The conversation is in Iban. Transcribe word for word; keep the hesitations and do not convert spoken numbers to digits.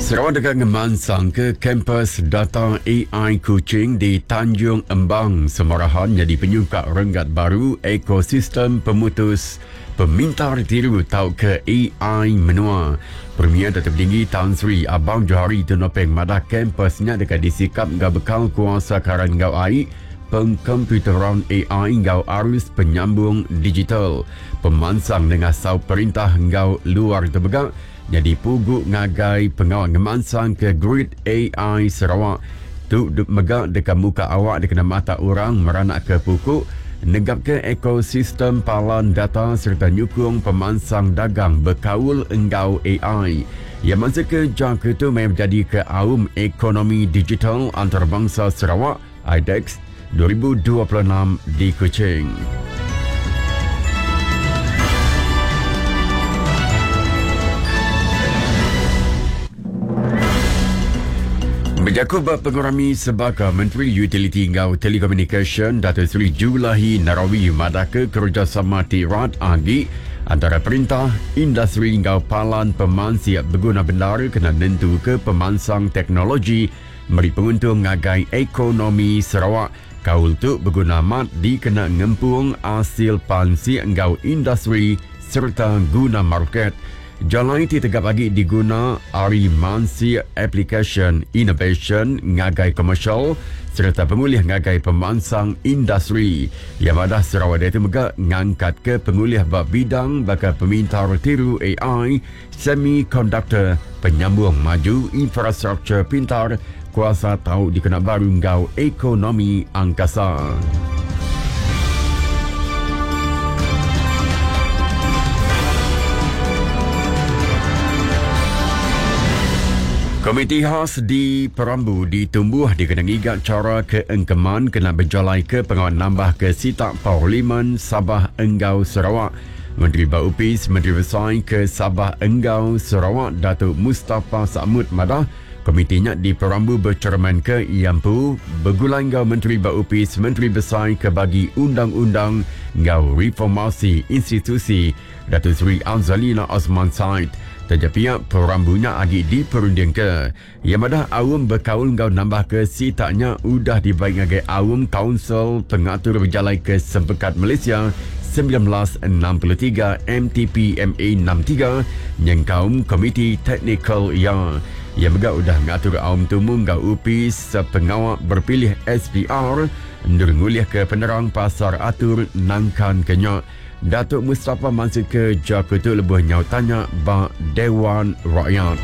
Sarawak dekat ngemansang ke kampus data A I Kuching di Tanjung Embang, Semarahan jadi penyungkak renggat baru ekosistem pemutus pemintar tiru tau ke A I menua. Premier Datuk Tinggi Tan Sri Abang Johari Tun Openg madah kampusnya dekat disikap ngau bekal kuasa karan ngau A I, pengkomputeran A I ngau arus penyambung digital. Pemansang dengan sau perintah ngau luar terbegak jadi pugu ngagai pengawal ngemansang ke grid A I Sarawak. Tu megak dekat muka awak dikena mata orang meranak ke pukuk, negap ke ekosistem palan data serta nyukung pemansang dagang berkaul enggau A I. Yang masa ke jangka tu memang menjadi ke aum ekonomi digital antarabangsa Sarawak I D E X dua ribu dua puluh enam di Kuching. Berjakub pengurami sebaka Menteri Utiliti Ngau Telekomunikasi Dato' Seri Julaihi Narawi madaka kerjasama tirat agi antara perintah, industri ngau palan pemansiap berguna benar kena nentu ke pemansang teknologi meri penguntung ngagai ekonomi Sarawak. Kaul tu berguna amat dikena ngempung hasil pansi ngau industri serta guna market. Jalan itu tegap lagi diguna ari mansi application innovation ngagai komersial serta pengulih ngagai pemansang industri. Yang madah Sarawak itu megak ngangkat ke pengulih bab bidang bakal pemintar tiru A I, semiconductor, penyambung maju infrastruktur pintar, kuasa tau dikena baru ngau ekonomi angkasa. Komiti khas di Perambu ditumbuh dikena ngigat cara keengkeman kena berjalai ke pengawal nambah ke sitak Parlimen Sabah Enggau Sarawak. Menteri Baupis Menteri Besar ke Sabah Enggau Sarawak Datuk Mustafa Sakmut madah komitinya di Perambu bercerman ke Iampu bergulang enggau Menteri Baupis Menteri Besar ke bagi undang-undang enggau reformasi institusi Datuk Seri Azalina Osman Said. Terjapiak perambunya agi diperunding ke. Yang madah awam berkaul ngau nambah ke sitaknya udah dibaik ngagai awam Council Pengatur Berjalai ke Sempekat Malaysia sembilan belas enam puluh tiga M T P M A enam tiga nyengkaum Komiti Teknikal ya. Yang megak udah ngatur awam tumu ngau U P sepengawak berpilih S P R nurngulih ke penerang pasar atur nangkan kenyak. Datuk Mustafa masuk ke Jakarta lebuh nyau tanya ba Dewan Rakyat.